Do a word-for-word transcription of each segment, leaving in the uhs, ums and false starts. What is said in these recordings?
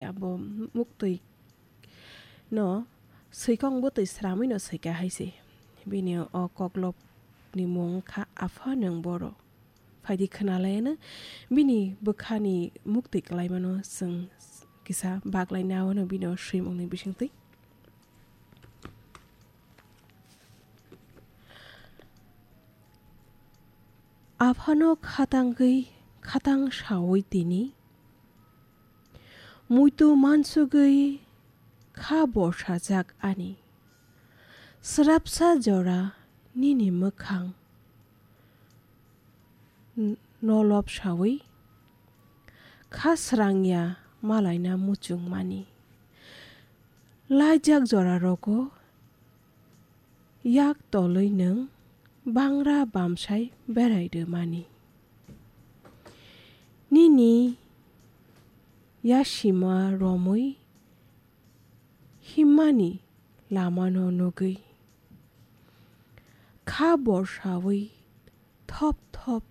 Abo muktwi no swikong bwtwi sramwi no swika hai se. Bini o koklop ni mung kha Apha nwng boro. Phaidi khwnalaiano bini bwkhani muktwi kwlaimano chwng kisa baglai nawano bini o swimungni bisingtwi. Aphano khatangwi khatang sawi tini, muitu mansugwi kha borsajak ani. Srapsa jora nini mwkhang n-, nolob sawi kha srangya malaina muchungmani. Laijak jora rogo yak tolwi nwng bangra bamsai berai rwmani. Nini yasima romwi himmani lamano nugwi kha borsawi thop thop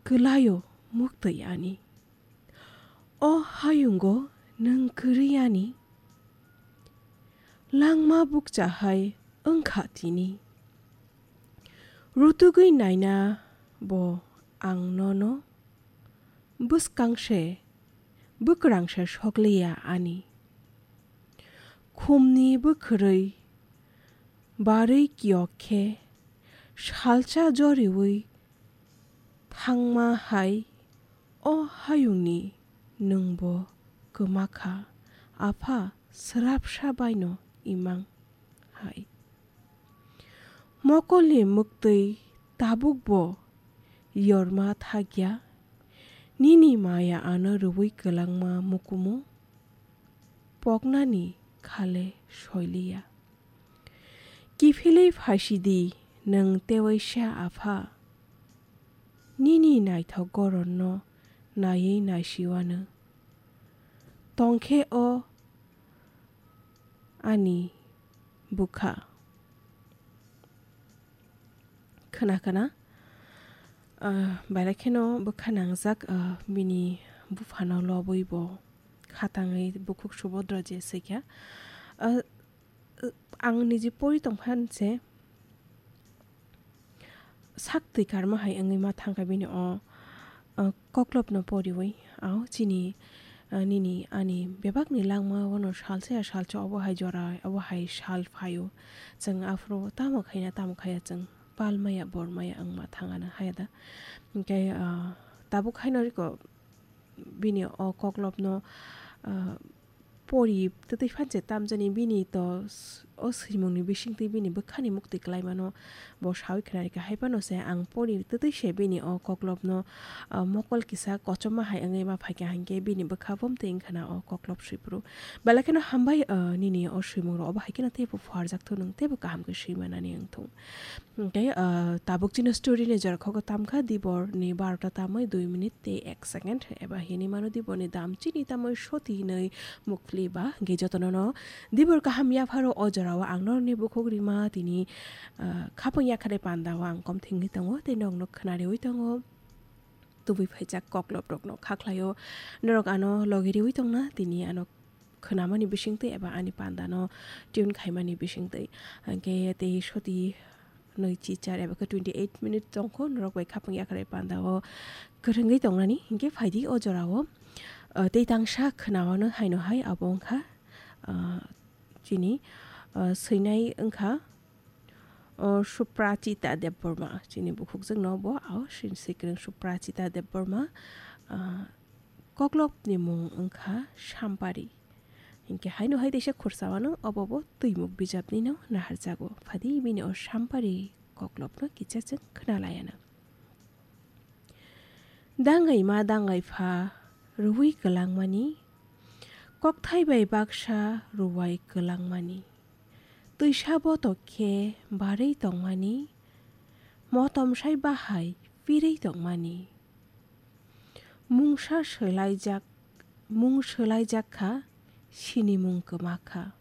kwlaio muktwi ani. O hayungo nwng kwrwi ani langma bukcha hai wngkha tini. Rutugwi naina bo ang nono bwskang se bwkrang se sokliya ani. Khumni bwkhwrwi barwi kiyok khe salsa joriwi thangma hai o hayungni nwngbo kwma kha, Apha srapsa baino imang hai. Mokolni mwktwi tabukbo yorma thakya, nini maya ano rwui kwlangma mukumu poknani khale soiliya. Kiphilwi phaisidi nwng tewaisa Apha, nini naithok goronno naiwi naisiwano. Tongkhe o ani bwkha. Khna khna, ah, belai kheno bwkha nangjak, ah, bini buphano lobwi bo khatangwi bukhuk Subodra je swikha. Ah, ang niji pori tongphan se sak twi karma hai wngwi ma thangkha bini o, o koklopno poriwi. Ao chini, o, nini ani bebakni langma wano salsa ya salsa obo hai jora, obo hai sal phaio. Chwng aphuru tamo khaina tamo khaya chwng pal maya bor maya wngma thangana haya da. Hinkhe, o, tabuk haino riko bini o koklopno, ah, pori twtwi phan se tamjani bini to s-, o swimungni bisingtwi bini bwkhani muktwi kwlaimano bo sawi khna rikha. Hai phano se ang pori twtwi se bini o koklopno, ah, mokol kisa kochoma hai wngwi ma phaikha, hinkhe bini bwkha bo mwtwi wngkhana o koklop swiphuru. Belai kheno hambai, ah, nini o swimungrok obo hai kheno teibo phuarjak thung, nwng teibo kaham khe swimanani wng thung. Hinkhe, ah, tabuk chini story ni jora kho tamkha, dibor ni barota tamwi dui minute tei ek second, eba hinwi mano dibor ni dam chini tamwi soti hinwi mukli ba. Hinkhe jotono no dibor kaham yapharo o jora o ang norokni bukhuk rima tini, ah, khapang yakhare panda o ang kom thengwi tongo tei nokno khna riwi tongo. Tubui phaijak koklop rokno kha khlaio, norok ano logi riwi tongna tini ano khwnamani bisingtwi eba ani pandano tune khaimani bisingtwi. Hinkhe tei soti nwi chichar eba khe twenty eight minute tongkho norok bai khapang yakhare panda o kwrwngwi tongnani. Hinkhe phaidi o jora o, ah, tei tangsa khwnawano haino hai abo wngkha, ah, chini, ah, swinai wngkha, o Suprachita Debbarma, chini bukhukjwkno bo, o sin sikrwng Suprachita Debbarma, ah, koklopni mung wngkha Sampari. Hinkhe haino hai teisa khursa wano obo bo twimuk bijapnino naharjago. Phadi bini o Sampari koklopno kicha chwng khna laiano. Dangai ma dangai pha rwui kwlangmani, kokthai bai baksa rwai kwlangmani, twisa botok khe barwi tongmani, motom sai bahai pirwi tongmani. Mungsa swlaijak, mung swlaijak kha, sinimung kwma kha.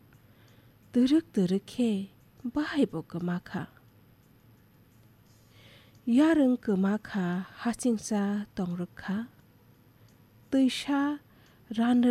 Twrwk twrwk khe bahai bo kwma kha. Yarwng kwma kha, hachingsa tongrwk kha. Twisa Rano